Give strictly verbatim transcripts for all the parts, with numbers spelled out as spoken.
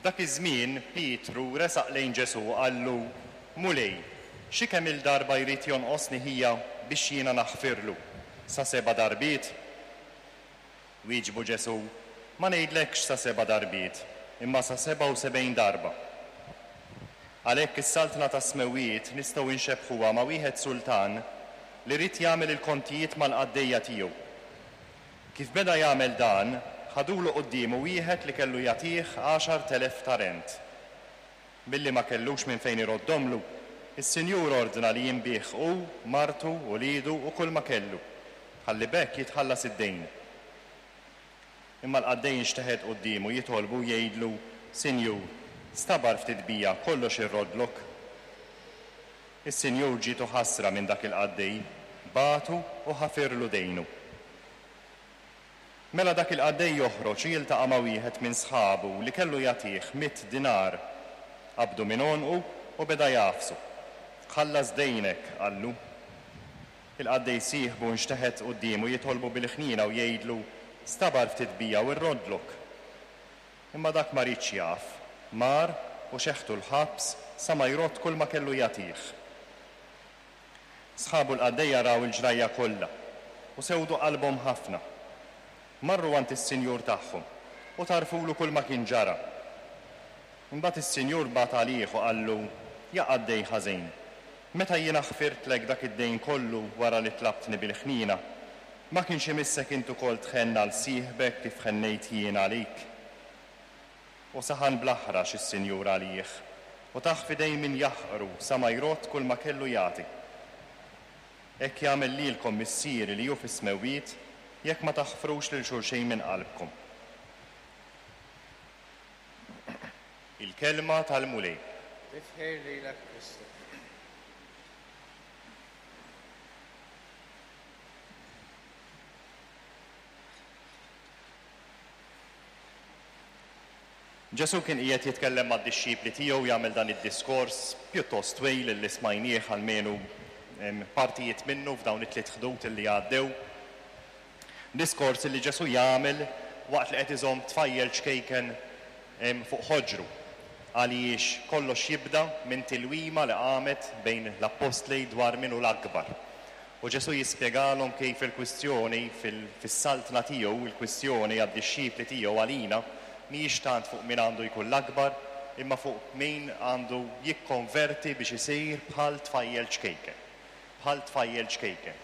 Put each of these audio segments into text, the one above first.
F'dak iż-żmien Pietru resaq lejn Ġesù u qallu, Mulej, xi kemm-il darba jrid jonqosni ħija biex jiena naħfirlu? Sa seba' darbiet? Wieġbu Ġesù, Ma ngħidlekx sa seba' darbiet, imma sa sebgħa u sebgħin darba. Għalhekk is-saltna tas-smewwiet nistgħu nxebbħuha ma' wieħed sultan li ried jagħmel il-kontijiet mal-qaddejja tiegħu. Kif beda jagħmel dan, ħadulu quddiemu wieħed li kellu jagħtih għaxart elef talent. Billi ma kellux minn fejn iroddomlu, is-sinjur ordna li jinbiegħ hu, martu, uliedu u kull ma kellu, ħalli b'hekk jitħallas id-dejn. Imma l-qaddej inxteħet quddiemu jitolbu u jgħidlu, Sinjur, stabar ftit bija, kollox irroddlok. Is-sinjur ġietu ħasra minn dak il-qaddej, bagħtu u ħafirlu dejnu. Mela dak il-qaddej joħroġ u jiltaqa' ma' wieħed minn sħabu li kellu jagħtih mitt dinar. Qabdu minn għonqu u beda jagħfsu. Ħallas dejnek, qallu. Il-qaddej sieħbu nxteħet quddiemu jitolbu bil-ħniena u jgħidlu, Stabar ftit bija u rroddlok. Imma dak ma riedx jaf, mar u xeħtu l-ħabs sa ma jrodd kull ma kellu jagħtih. Sħabu l-qaddejja raw il-ġrajja kollha u sewdu qalbhom ħafna. Marru għand is-sinjur tagħhom u tarfulu kull ma kien ġara. Imbagħad is-sinjur bagħat għalih u qallu, Ja qaddej ħażin, meta jiena ħfirtlek dak id-dejn kollu wara li tlabtni bil-ħniena, ma kienx imissek int ukoll tħenn għal sieħbek kif ħennejt jien għalik? U saħan bl-aħrax is-sinjur għalih u tah f'idejn min jaħqru sa ma jrodd kull ma kellu jagħti. Hekk jagħmel lilkom Missieri li hu fis-smewwiet jekk ma taħfrux lil xulxin minn qalbkom. Il-kelma tal-Mulej. Tifħir lilek Kristu. Ġesù kien qiegħed jitkellem mad-dixxipli tiegħu, jagħmel dan id-diskors pjuttost twil li smajnieh almenu partijiet minnu f'dawn it-tliet ħdud li għaddew. Diskors li Ġesù jagħmel waqt li qed iżomm tfajjel ċkejken fuq ħoġru, għaliex kollox jibda minn tilwima li qamet bejn l-appostli dwar min hu l-akbar. U Ġesù jispjegalhom kif il-kwistjoni fis-saltna tiegħu, il-kwistjoni għad-dixxipli tiegħu għalina, mhijiex tant fuq min għandu jkun l-akbar, imma fuq min għandu jikkonverti biex isir bħal tfajjel ċkejken. Bħal tfajjel ċkejken.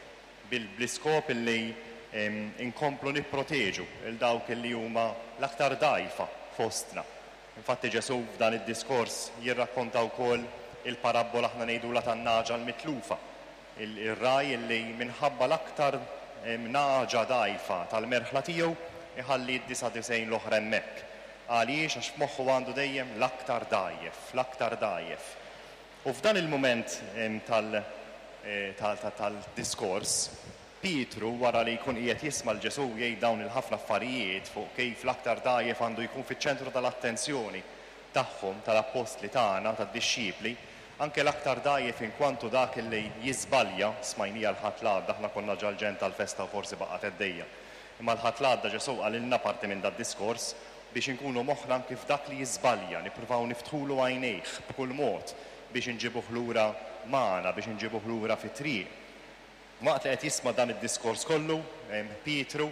Bl-iskop illi inkomplu nipproteġu il dawk illi huma l-aktar dgħajfa fostna. Infatti Ġesù f'dan id-diskors jirrakkonta wkoll il-parabbola aħna ngħidulha tan-nagħġa l-mitlufa. Il-ragħaj illi minħabba l-aktar nagħġa dgħajfa tal-merħla tiegħu iħalli d-disa' disgħin l-oħra hemmhekk. Għaliex? Għax f'moħħu għandu dejjem l-aktar dgħajjef, l-aktar dgħajjef. U f'dan il-mument tal-diskors, Pietru wara li jkun qiegħed jisma' l Ġesù jgħid dawn il-ħafna affarijiet fuq kif l-aktar dgħajjef għandu jkun fiċ-ċentru tal-attenzjoni tagħhom, tal-appostli tagħna, tad-dixxipli, anke l-aktar dgħajjef inkwantu dak li jiżbalja, smajnija l-Ħadd l-għadda, aħna konna ġal-ġenn tal-festa u forsi baqgħet għaddejja. Imma l-Ħadd l-għadda Ġesù qalilna parti minn dad-diskors biex inkunu moħħna anke f'dak li jiżbalja, nippruvaw niftħulu għajnejh b'kull mod biex inġibuh lura magħna, biex inġibuh lura fit-triq. Waqt li qed jisma' dan id-diskors kollu, Pietru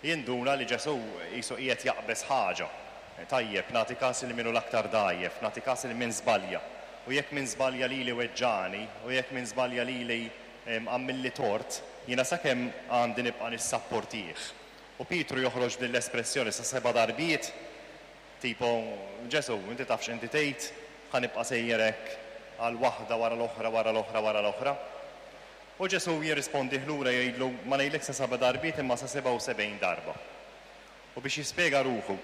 jinduna li Ġesù qisu qiegħed jaqbeż ħaġa. Tajjeb, nagħti każ lil min hu l-aktar dgħajjef, nagħti każ lil min żbalja. U jekk min żbalja lili weġġagħni, u jekk min żbalja lili għamilli tort, jiena sakemm għandi nibqa' nissapportih. U Pietru joħroġ din l-espressjoni sa seba' darbiet, tipo, Ġesù, inti taf x'inti tgħid, ħa nibqa' sejjer hekk għal waħda wara l-oħra, wara l-oħra, wara l-oħra. U Ġesù jirrispondih lura jgħidlu, ma ngħidlek sa seba' darbiet imma sa sebgħa u sebgħin darba. U biex jispjega ruħu,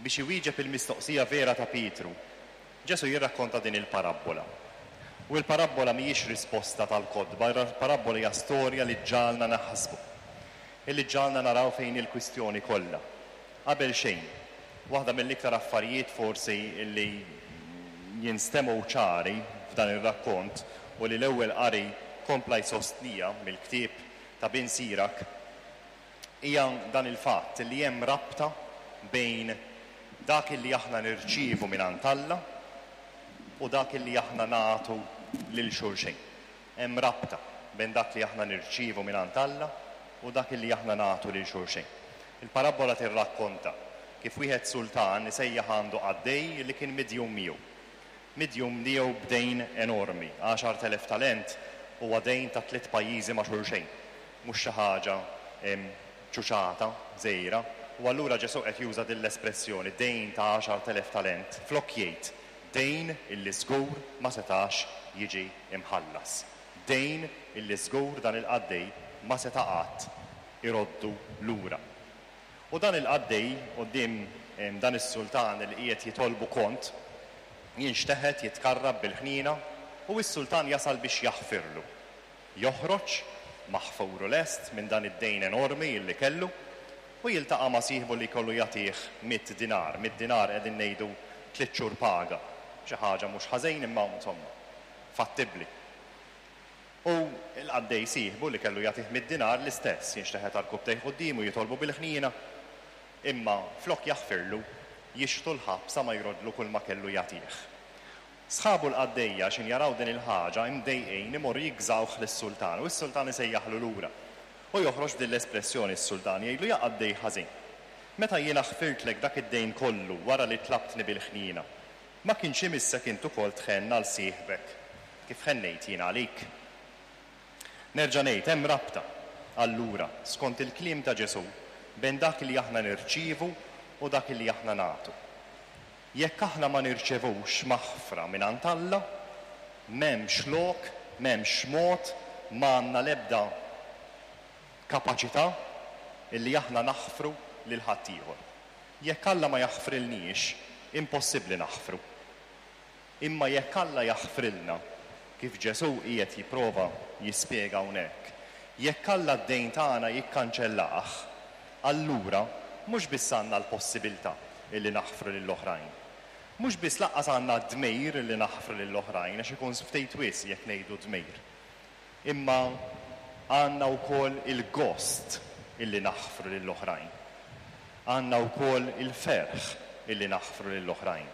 biex iwieġeb il-mistoqsija vera ta' Pietru, Ġesù jirrakkonta din il-parabbola. U l-parabbola mhijiex risposta tal-kotba, il-parabbola hija storja li ġġagħalna naħsbu, illi ġġagħalna naraw fejn il-kwistjoni kollha. Qabel xejn, waħda mill-iktar affarijiet forsi illi jinstemgħu ċari f'dan ir-rakkont u li l-ewwel qari kompla jsostnija mill-ktieb ta' Bin Sirak, hija dan il-fatt li hemm rabta bejn dak li aħna nirċievu mingħand Alla u dak li aħna nagħtu lil xulxin. Hemm rabta bejn dak li aħna nirċievu mingħand Alla u dak li aħna nagħtu lil xulxin. Il-parabbola tirrakkonta kif wieħed sultan isejjaħ għandu qaddej li kien midjun miegħu. Midjun miegħu b'dejn enormi, għaxart elef talent huwa dejn ta' tliet pajjiżi ma' xulxejn. Mhux xi ħaġa ċuċata, żgħira, u allura Ġesù qed juża din l-espressjoni dejn ta' għaxart elef talent flok jgħid dejn illi żgur ma setax jiġi imħallas. Dejn illi żgur dan il-qaddej ma seta' qatt iroddu lura. U dan il-qaddej quddiem dan is-sultan li qiegħed jitolbu kont jinxteħet jitkarrab bil-ħniena u s-sultan jasal biex jaħfirlu. Joħroġ maħfuru lest minn dan id-dejn enormi illi kellu u jiltaqa' ma' sieħbu li jkollu jagħtih mitt dinar. Mitt dinar qegħdin ngħidu tliet xhur paga. Xi ħaġa mhux ħażin imma insomma fattibbli. U l-qaddej sieħbu li kellu jagħtih mitt dinar l-istess jinxteħet għarkupptejh quddiemu jitolbu bil-ħniena imma flok jaħfirlu jixtu l-ħabs sa ma jrodlu kull ma kellu jagħtih. Sħabu l-qaddejja x'in jaraw din il-ħaġa imdejqin imorru jigżawh lis-sultan u s-sultan isejjaħlu lura. U joħroġ din l-espressjoni s-sultan jgħidlu ja qaddej ħażin. Meta jiena ħfirtlek dak id-dejn kollu wara li tlabtni bil-ħniena, ma kienx imissek int ukoll tħenn għal sieħbek kif ħennejt jiena għalik. Nerġa' ngħid hemm rabta allura skont il-kliem ta' Ġesù bejn dak li aħna nirċievu u dak li aħna nagħtu. Jekk aħna ma nirċevux maħfra mingħand Alla, m'hemmx lok, m'hemmx mod, ma għandna l-ebda kapaċità illi aħna naħfru lil ħaddieħor. Jekk Alla ma jaħfrilniex, impossibbli naħfru. Imma jekk Alla jaħfrilna, kif Ġesù qiegħed jipprova jispjega hawnhekk, jekk Alla d-dejn tagħna jikkanċellah, allura mhux biss għandna l-possibilità illi naħfru lill-oħrajn. Mhux biss lanqas għandna dmir illi naħfru lill-oħrajn, għax ikun ftit wisq jekk ngħidu dmir. Imma għandna wkoll il-gost illi naħfru lill-oħrajn. Għandna wkoll il-ferħ illi naħfru lill-oħrajn.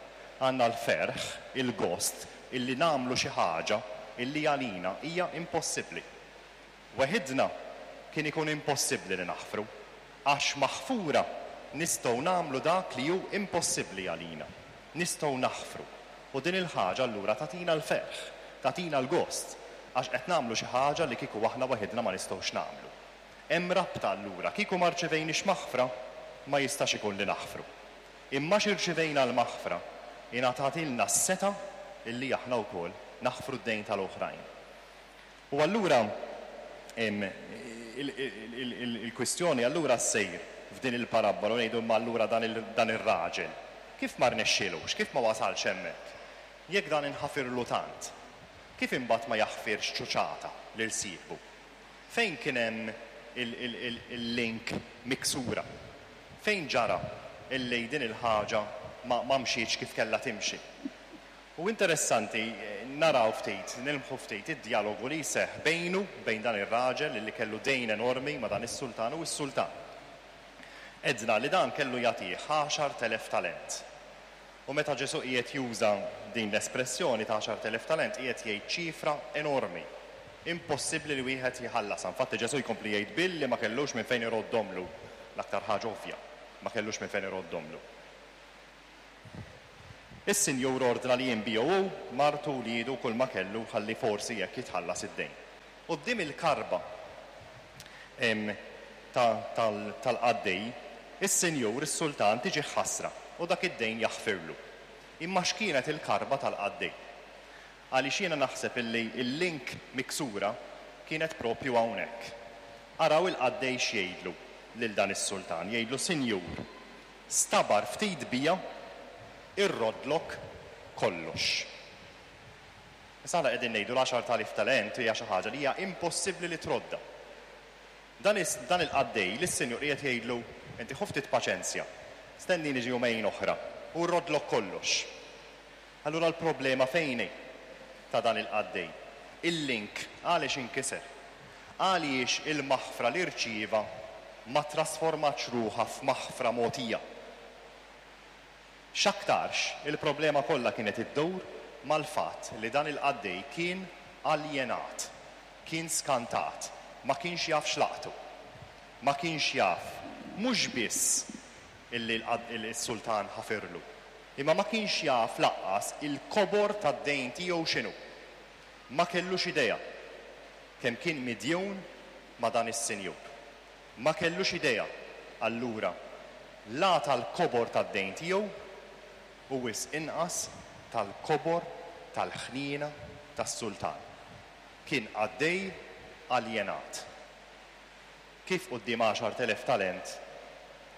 Għandna l-ferħ, il-gost illi nagħmlu xi ħaġa illi għalina hija impossibbli. Weħidna kien ikun impossibbli li naħfru, għax maħfura nistgħu nagħmlu dak li hu impossibbli għalina. Nistgħu naħfru. U din il-ħaġa allura tagħtina l-ferħ, tagħtina l-gost, għax qed nagħmlu xi ħaġa li kieku aħna waħedna ma nistgħux nagħmlu. Hemm rabta allura, kieku ma rċevejniex maħfra, ma jistax ikun li naħfru. Imma x'irċivejna l-maħfra, ingħatatilna s-setgħa illi aħna wkoll naħfru d-dejn tal-oħrajn. U allura il-kwistjoni allura ssejr f'din il-parabbola u ngħidu imma allura dan ir-raġel kif ma rnexxielux, kif ma wasalx hemmhekk? Jekk dan inħafirlu tant, kif imbagħad ma jaħfirx ċuċata lil sieħbu? Fejn kien hemm il-link miksura? Fejn ġara illi din il-ħaġa ma mxietx kif kellha timxi? U interessanti naraw ftit, nilmħu ftit id-dialogu li jseħħ bejnu, bejn dan ir-raġel li kellu dejn enormi ma' dan is-sultan u s-sultan. Edna li dan kellu jagħtih għaxart elef talent. U meta Ġesù qiegħed juża din l-espressjoni ta' għaxart elef talent, qiegħed jgħid ċifra enormi. Impossibbli li wieħed jħallasha. Infatti Ġesù jkompli jgħid billi ma kellux minn fejn iroddomlu, l-aktar ħaġa ovvja, ma kellux minn fejn iroddomlu. Is-sinjur ordna li jinbiegħu hu, martu, wliedu, kull ma kellu ħalli forsi jekk jitħallas id-dejn. Quddiem il-karba tal-qaddej, is-sinjur, is-sultan, tiġi ħasra u dak id-dejn jaħfirlu. Imma x'kienet il-karba tal-qaddej? Għaliex jiena naħseb illi il-link miksura kienet propju hawnhekk. Araw il-qaddej x'jgħidlu lil dan is-sultan, jgħidlu sinjur, stabar ftit bija irrodlok kollox. Issa aħna qegħdin ngħidu l-għaxart elef talent hija xi ħaġa li hija impossibbli li trodda. Dan il-qaddej lis-sinjur qiegħed jgħidlu inti ħu ftit paċenzja, stennini ġi jumejn oħra u rrodlok kollox. Allura l-problema fejn hi ta' dan il-qaddej? Il-link għaliex inkiser? Għaliex il-maħfra li rċieva ma trasformatx ruħha f'maħfra mogħtija? X'aktarx il-problema kollha kienet iddur mal-fatt li dan il-qaddej kien aljenat, kien skantat, ma kienx jaf x'laqtu. Ma kienx jaf mhux biss illi s-sultan ħafirlu, imma ma kienx jaf lanqas il-kobor tad-dejn tiegħu x'inhu. Ma kellux idea kemm kien midjun ma' dan is-sinjur. Ma kellux idea allura la tal-kobor tad-dejn tiegħu u wisq inqas tal-kobor tal-ħniena tas-sultan. Kien qaddej aljenat. Kif quddiem għaxart elef talent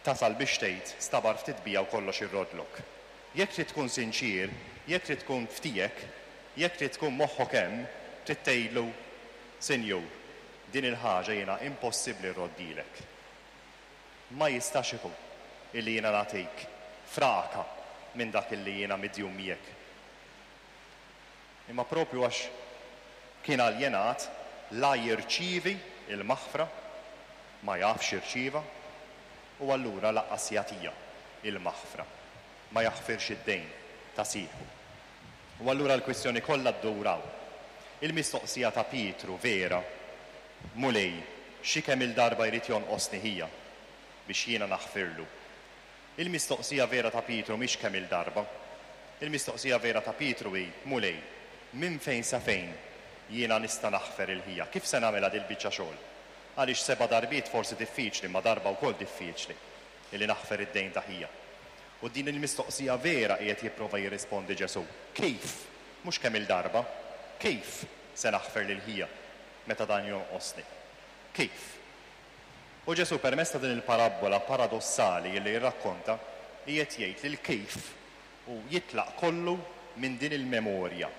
tasal biex tgħid stabar ftit bija u kollox irroddlok? Jekk trid tkun sinċier, jekk trid tkun f'tiegħek, jekk trid tkun moħħok hemm, trid tgħidlu, Sinjur, din il-ħaġa jiena impossibbli rroddilek. Ma jistax ikun illi jiena nagħtik fraka minn dak illi jiena midjun miegħek. Imma propju għax kien aljenat, la jirċievi il-maħfra, ma jafx jirċieva, u allura lanqas jagħtiha il-maħfra, ma jaħfirx id-dejn ta' sieħbu. U allura l-kwistjoni kollha ddur hawn. Il-mistoqsija ta' Pietru vera, Mulej, xi kemm il-darba jrid jonqosni ħija biex jiena naħfirlu? Il-mistoqsija vera ta' Pietru mhix kemm il-darba. Il-mistoqsija vera ta' Pietru hi, Mulej, minn fejn sa fejn jiena nista' naħfer il-ħija? Kif se nagħmilha dil-biċċa xogħol? Għaliex seba' darbiet forsi diffiċli, ma darba wkoll diffiċli illi naħfer id-dejn ta' ħija. U din il-mistoqsija vera qiegħed jipprova jirrispondi Ġesù. Kif? Mhux kemm il-darba. Kif se naħfer lil ħija meta dan jonqosni? Kif? U Ġesù permezz ta' din il-parabbola paradossali li jirrakkonta qiegħed jgħid li l-kif u jitlaq kollu minn din il-memorja,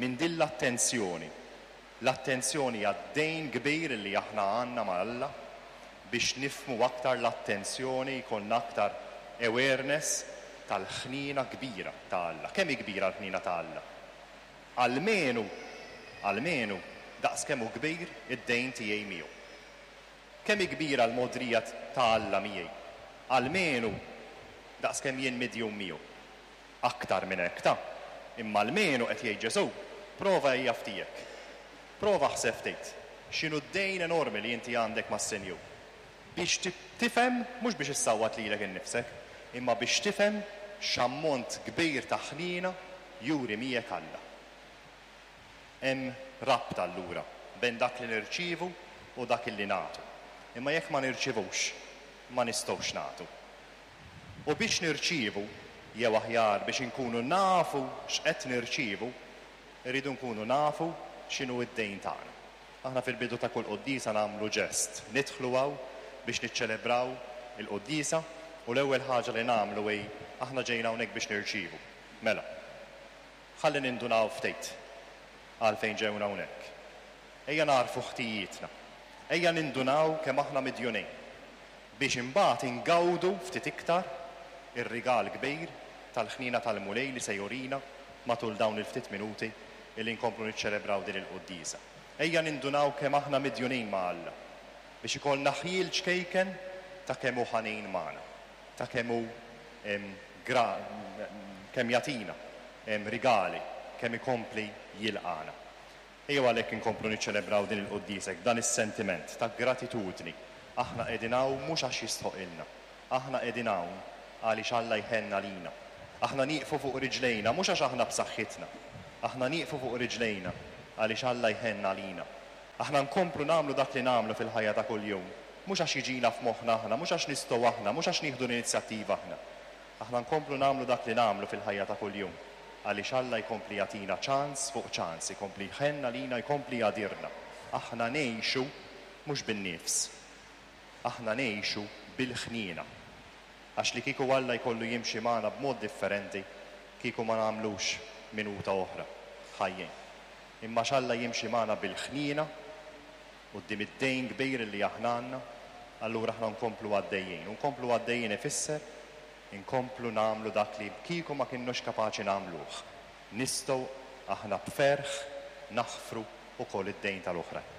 minn din l-attenzjoni. L-attenzjoni għad-dejn kbir li aħna għandna ma' Alla biex nifhmu aktar l-attenzjoni, jkollna aktar awareness tal-ħnina kbira ta' Alla. Kemm hi kbira l-ħnina ta' Alla? Almenu, almenu, daqs kemm hu kbir id-dejn tiegħi miegħu. Kemm hi kbira l-mogħdrija ta' Alla miegħi? Almenu daqs kemm jien midjun miegħu. Aktar minn hekk ta', imma almenu qed jgħid Ġesù, prova ejja f'tiegħek. Prova ħseb ftit x'inhu d-dejn enormi li inti għandek mas-Sinjur. Biex tifhem, mhux biex issawwat lilek innifsek, imma biex tifhem x'ammont kbir ta' ħniena juri miegħek Alla. Hemm rabta allura bejn dak li nirċievu u dak li nagħtu. Imma jekk ma nirċivux, ma nistgħux nagħtu. U biex nirċievu, jew aħjar biex inkunu nafu x'qed nirċievu, irridu nkunu nafu x'inhu d-dejn tagħna. Aħna fil-bidu ta' kull quddiesa nagħmlu ġest, nidħlu hawn biex niċċelebraw il-quddiesa u l-ewwel ħaġa li nagħmlu hi aħna ġejna hawnhekk biex nirċievu. Mela, ħalli nindunaw ftit għalfejn ġejna hawnhekk. Ejja narfu ħtijietna. Ejja nindunaw kemm aħna midjunin biex imbagħad ingawdu ftit iktar ir-rigal kbir tal-ħnina tal-Mulej li se jurina matul dawn il-ftit minuti illi nkomplu niċċelebraw din il-quddiesa. Ejja nindunaw kemm aħna midjunin ma' Alla biex ikollna ħjiel ċkejken ta' kemm hu ħanin magħna, ta' kemm hu kemm jagħtina rigali, kemm ikompli jilqana. Ejjew għalhekk inkomplu niċċelebraw din il-quddiesa dan is-sentiment ta' gratitudni. Aħna qegħdin hawn mhux għax jistħoqilna. Aħna qegħdin hawn għaliex Alla jħenn għalina. Aħna nieqfu fuq riġlejna mhux għax aħna b'saħħitna. Aħna nieqfu fuq riġlejna għaliex Alla jħenn għalina. Aħna nkomplu nagħmlu dak li nagħmlu fil-ħajja ta' kuljum, mhux għax jiġina f'moħħna aħna, mhux għax nistgħu aħna, mhux għax nieħdu l-inizjattiva aħna. Aħna nkomplu nagħmlu dak li nagħmlu fil-ħajja ta' kuljum għaliex Alla jkompli jagħtina ċans fuq ċans, jkompli jħenn għalina, jkompli jgħadirna. Aħna ngħixu mhux bin-nifs. Aħna ngħixu bil-ħniena. Għax li kieku Alla jkollu jimxi magħna b'mod differenti, kieku ma nagħmlux minuta oħra ħajjin. Imma x'Alla jimxi magħna bil-ħniena quddiem id-dejn kbir li aħna għandna, allura aħna nkomplu għaddejjin. U nkomplu għaddejjin ifisser inkomplu nagħmlu dak li kieku ma kinnux kapaċi nagħmluh. Nistgħu aħna b'ferħ naħfru ukoll id-dejn tal-oħrajn.